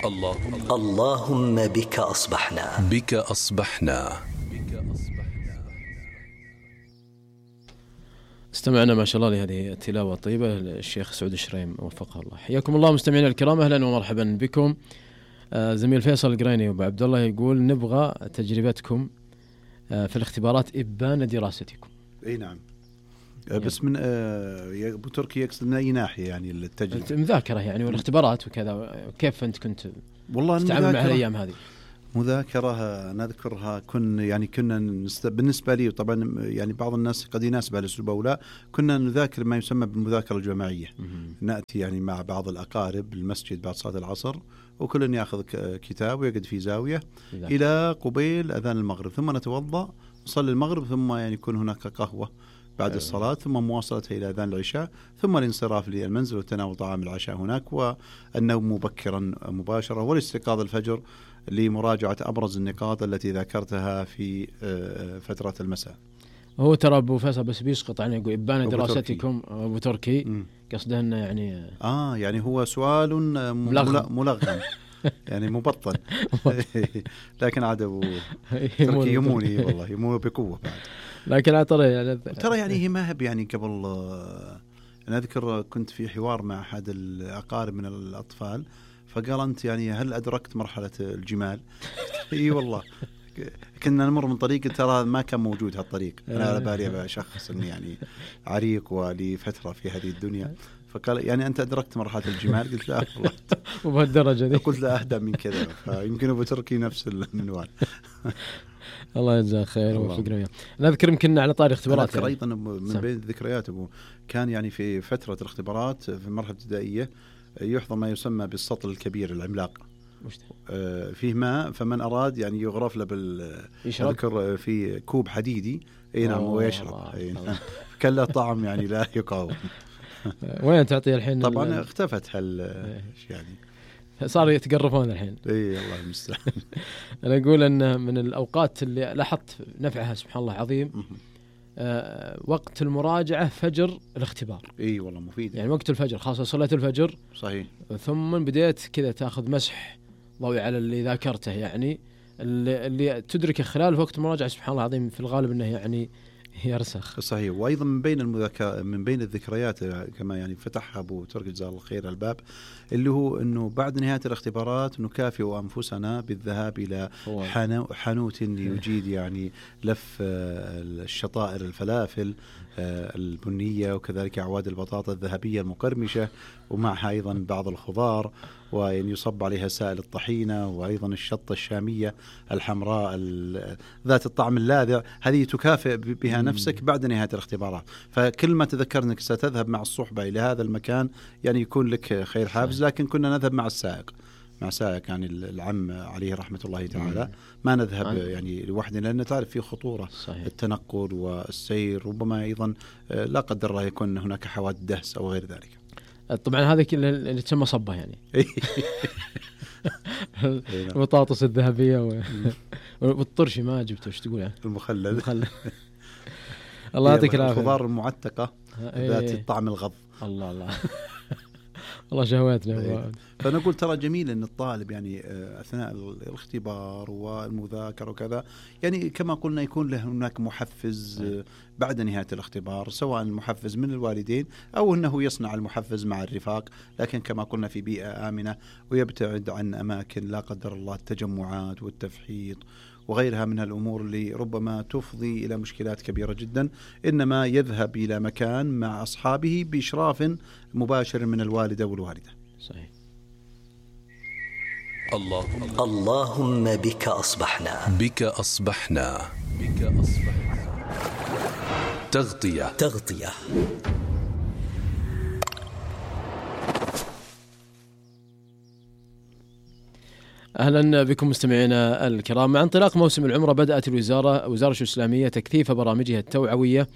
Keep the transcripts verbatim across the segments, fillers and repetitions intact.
الله اللهم بك أصبحنا بك أصبحنا. استمعنا ما شاء الله لهذه التلاوة الطيبة للشيخ سعود الشريم وفقه الله. حياكم الله مستمعينا الكرام، أهلا ومرحبا بكم. آه زميل فيصل القريني وابو عبد الله يقول نبغى تجربتكم آه في الاختبارات إبان دراستكم. اي نعم. آه بس من آه ابو تركي يقصد من اي ناحيه يعني التجربه؟ المذاكره يعني والاختبارات وكذا، كيف انت كنت والله تتعامل مع الايام هذه؟ مذاكرة نذكرها كن يعني كنا نست... بالنسبة لي طبعا يعني بعض الناس قد يناسب الأسلوب أو لا، كنا نذاكر ما يسمى بالمذاكرة الجماعية. نأتي يعني مع بعض الأقارب المسجد بعد صلاة العصر، وكل يأخذ كتاب ويقعد في زاوية ذاك. إلى قبيل أذان المغرب، ثم نتوضأ نصلي المغرب، ثم يعني يكون هناك قهوة بعد أيوة. الصلاة، ثم مواصلتها إلى أذان العشاء، ثم الانصراف للمنزل وتناول طعام العشاء هناك، والنوم مبكرا مباشرة، والاستيقاظ الفجر لمراجعة أبرز النقاط التي ذكرتها في فترة المساء. هو ترى أبو فيصل بس بيسقط عنه يقول إبان دراستكم أبو تركي، قصده أنه يعني آه يعني هو سؤال ملغم يعني مبطن لكن عاد أبو تركي يموني والله يمون بقوة بعد. لكن ترى يعني ترى يعني هي ما هب يعني قبل أنا أذكر كنت في حوار مع أحد الأقارب من الأطفال، فقال أنت يعني هل أدركت مرحلة الجمال؟ إي والله كنا نمر من طريق ترى ما كان موجود هالطريق، أنا على بالي بشخص إني يعني عريق ولفترة في هذه الدنيا، فقال يعني أنت أدركت مرحلة الجمال؟ قلت لا والله وبهالدرجة دي قلت لا أهدى من كذا، فيمكن أبو تركي نفس المنوال. الله يجزاه خير ووفقنا وياه. نذكر يمكن على طاري اختبارات يعني. أيضا من بين الذكريات أبو كان يعني في فترة الاختبارات في المرحلة الابتدائية يحضر ما يسمى بالسطل الكبير العملاق، آه فيه ماء، فمن أراد يعني يغرف له بال أذكر في كوب حديدي اي نعم ويشرب، كان له طعم يعني لا يقاوم. وين تعطيه الحين؟ طبعا اختفت هال يعني صار يتقرفون الحين. اي الله المستعان. انا اقول ان من الاوقات اللي لاحظت نفعها سبحان الله عظيم أه وقت المراجعة فجر الاختبار. اي والله مفيد يعني وقت الفجر خاصة صلاة الفجر صحيح، ثم بديت كذا تاخذ مسح ضوئي على اللي ذاكرته، يعني اللي, اللي تدركه خلال وقت المراجعة سبحان الله العظيم في الغالب انه يعني يرسخ. صحيح. وايضا من بين المذاكرة من بين الذكريات كما يعني فتحها ابو تركي جزاه الله خير الباب، اللي هو انه بعد نهاية الاختبارات نكافئ انفسنا بالذهاب الى حانوت يجيد يعني لف الشطائر الفلافل البنية، وكذلك أعواد البطاطا الذهبية المقرمشة، ومعها أيضا بعض الخضار، وأن يصب عليها سائل الطحينة، وأيضا الشطة الشامية الحمراء ذات الطعم اللاذع، هذه تكافئ بها نفسك بعد نهاية الاختبارات. فكل ما تذكر أنك ستذهب مع الصحبة إلى هذا المكان يعني يكون لك خير حافز. لكن كنا نذهب مع السائق مع سائق يعني العم عليه رحمة الله تعالى، ما نذهب يعني لوحدنا، لأن تعرف في خطورة صحيح. التنقل والسير، ربما أيضا لا قدر الله يكون هناك حوادث دهس أو غير ذلك. طبعا هذا اللي تسمى صبة يعني البطاطس الذهبية والطرشي ما جبته ايش تقول يعني المخلل المخلل الله يعطيك العافية. الخضار المعتقة ذات الطعم الغض. الله الله الله شهواتنا. فنقول ترى جميل أن الطالب يعني أثناء الاختبار والمذاكرة وكذا يعني كما قلنا يكون له هناك محفز بعد نهاية الاختبار، سواء محفز من الوالدين أو أنه يصنع المحفز مع الرفاق، لكن كما قلنا في بيئة آمنة، ويبتعد عن أماكن لا قدر الله التجمعات والتفحيط وغيرها من الأمور اللي ربما تفضي إلى مشكلات كبيرة جدا، إنما يذهب إلى مكان مع أصحابه بإشراف مباشر من الوالدة والوالدة. صحيح. الله اللهم بك أصبحنا بك أصبحنا بك أصبحنا تغطية تغطية أهلا بكم مستمعينا الكرام. مع انطلاق موسم العمرة بدأت الوزارة وزارة الإسلامية تكثيف برامجها التوعوية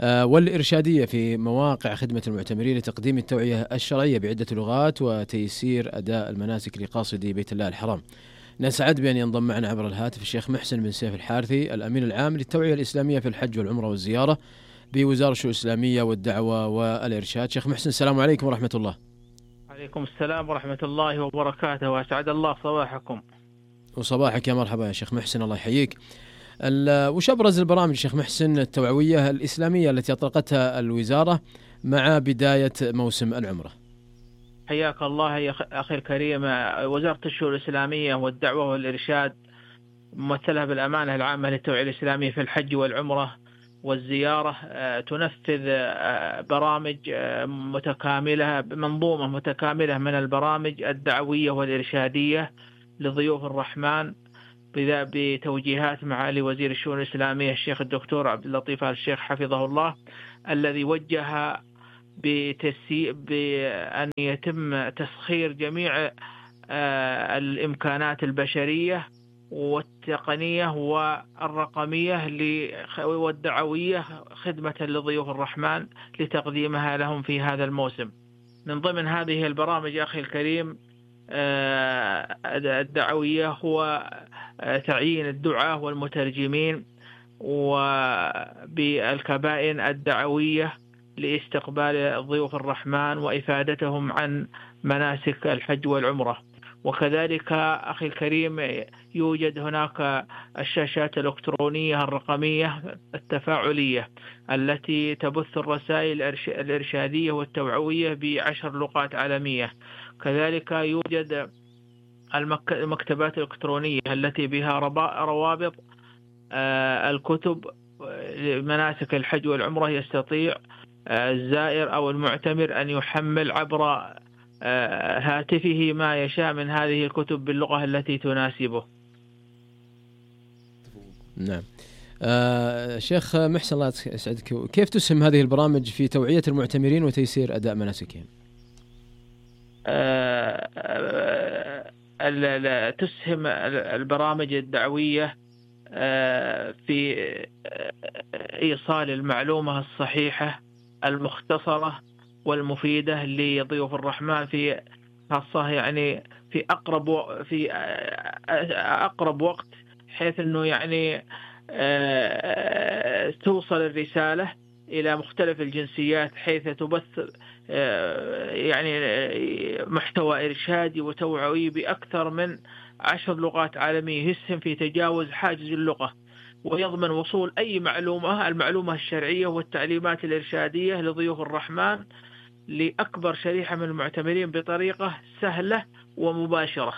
والإرشادية في مواقع خدمة المعتمرين لتقديم التوعية الشرعية بعدة لغات وتيسير أداء المناسك لقاصدي بيت الله الحرام. نسعد بأن ينضم معنا عبر الهاتف الشيخ محسن بن سيف الحارثي الأمين العام للتوعية الإسلامية في الحج والعمرة والزيارة بوزارة الإسلامية والدعوة والإرشاد. شيخ محسن السلام عليكم ورحمة الله. عليكم السلام ورحمة الله وبركاته، وأسعد الله صباحكم. وصباحك يا مرحبا يا شيخ محسن، الله يحييك. وش أبرز البرامج شيخ محسن التوعوية الإسلامية التي أطلقتها الوزارة مع بداية موسم العمرة؟ حياك الله يا أخي الكريم. وزارة الشؤون الإسلامية والدعوة والإرشاد ممثلها بالأمانة العامة للتوعية الإسلامية في الحج والعمرة والزيارة تنفذ برامج متكاملة، منظومة متكاملة من البرامج الدعوية والإرشادية لضيوف الرحمن بتوجيهات معالي وزير الشؤون الإسلامية الشيخ الدكتور عبد اللطيف آل الشيخ حفظه الله، الذي وجه بتسي... بأن يتم تسخير جميع الإمكانات البشرية والتقنية والرقمية والدعوية خدمة لضيوف الرحمن لتقديمها لهم في هذا الموسم. من ضمن هذه البرامج أخي الكريم الدعوية هو تعيين الدعاة والمترجمين وبالكبائن الدعوية لاستقبال ضيوف الرحمن وإفادتهم عن مناسك الحج والعمرة. وكذلك أخي الكريم يوجد هناك الشاشات الإلكترونية الرقمية التفاعلية التي تبث الرسائل الإرشادية والتوعوية بعشر لغات عالمية. كذلك يوجد المكتبات الإلكترونية التي بها روابط الكتب لمناسك الحج والعمرة، يستطيع الزائر أو المعتمر أن يحمل عبر هاتفه ما يشاء من هذه الكتب باللغة التي تناسبه. نعم. آه شيخ محسن الله يسعدك، كيف تسهم هذه البرامج في توعية المعتمرين وتيسير أداء مناسكهم؟ آه آه تسهم البرامج الدعوية آه في إيصال المعلومة الصحيحة المختصرة والمفيدة لضيوف الرحمن في خاصة يعني في أقرب في أقرب وقت، حيث إنه يعني توصل الرسالة إلى مختلف الجنسيات، حيث تبث يعني محتوى إرشادي وتوعوي بأكثر من عشر لغات عالمية، يسهم في تجاوز حاجز اللغة ويضمن وصول أي معلومة المعلومة الشرعية والتعليمات الإرشادية لضيوف الرحمن لأكبر شريحة من المعتمرين بطريقة سهلة ومباشرة.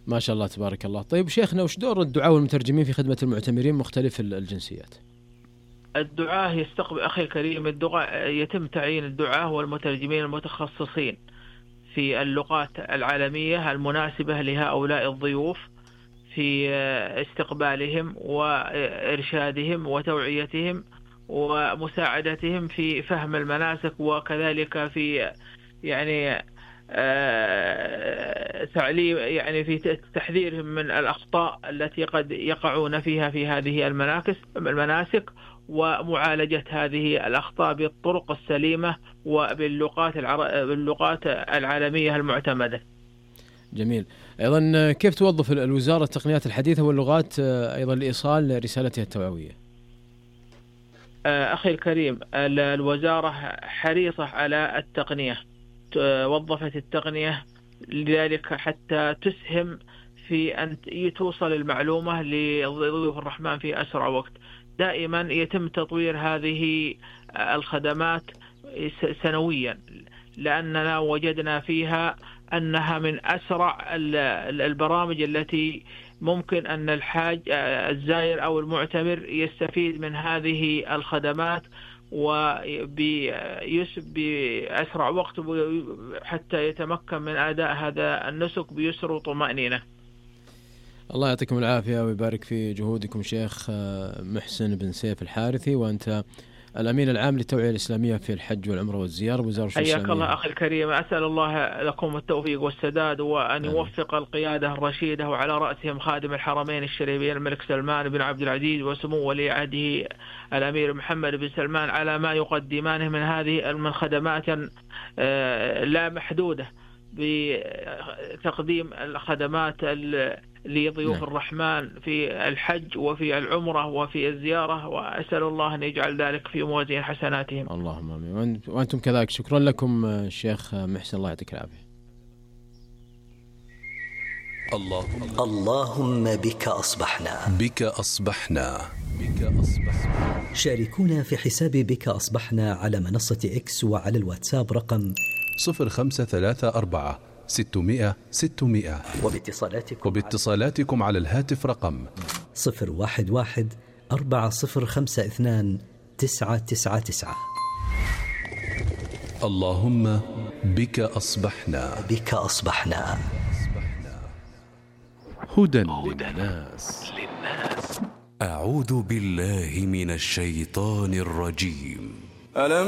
ما شاء الله تبارك الله. طيب شيخنا، وش دور الدعاة والمترجمين في خدمة المعتمرين مختلف الجنسيات؟ الدعاة يستقبل أخي الكريم الدعاة يتم تعيين الدعاة والمترجمين المتخصصين في اللغات العالمية المناسبة لهؤلاء الضيوف في استقبالهم وإرشادهم وتوعيتهم ومساعدتهم في فهم المناسك، وكذلك في يعني تعليم يعني في تحذيرهم من الأخطاء التي قد يقعون فيها في هذه المناكس المناسك ومعالجة هذه الأخطاء بالطرق السليمة وباللغات باللغات العالمية المعتمدة. جميل. أيضا كيف توظف الوزارة التقنيات الحديثة واللغات أيضا لإيصال رسالتها التوعوية؟ أخي الكريم، الوزارة حريصة على التقنية، وظفت التقنية لذلك حتى تسهم في أن توصل المعلومة لضيوف الرحمن في أسرع وقت. دائما يتم تطوير هذه الخدمات سنويا، لأننا وجدنا فيها أنها من أسرع البرامج التي ممكن أن الحاج الزائر أو المعتمر يستفيد من هذه الخدمات وبأسرع وقت حتى يتمكن من أداء هذا النسك بيسر وطمأنينة. الله يعطيكم العافية ويبارك في جهودكم شيخ محسن بن سيف الحارثي، وأنت الأمين العام للتوعية الإسلامية في الحج والعمرة والزيارة بوزارة الشؤون الإسلامية. حياك الله أخي الكريم، أسأل الله لكم التوفيق والسداد وأن يوفق القيادة الرشيدة وعلى رأسهم خادم الحرمين الشريفين الملك سلمان بن عبد العزيز وسمو ولي عهده الأمير محمد بن سلمان على ما يقدمانه من هذه من خدمات لا محدودة بتقديم الخدمات لضيوف نعم. الرحمن في الحج وفي العمرة وفي الزيارة، وأسأل الله أن يجعل ذلك في موازين حسناتهم. اللهم آمين. وأنتم كذلك. شكرا لكم الشيخ محسن، الله يعطيك العافية. اللهم اللهم بك أصبحنا. بك أصبحنا. بك أصبحنا. شاركونا في حساب بك أصبحنا على منصة إكس وعلى الواتساب رقم صفر خمسة ثلاثة أربعة ستمائة ستمائة، وباتصالاتكم وباتصالاتكم على الهاتف رقم صفر واحد واحد أربعة صفر خمسة اثنان تسعة تسعة تسعة. اللهم بك أصبحنا. بك أصبحنا. هدى للناس. أعوذ بالله من الشيطان الرجيم. ألم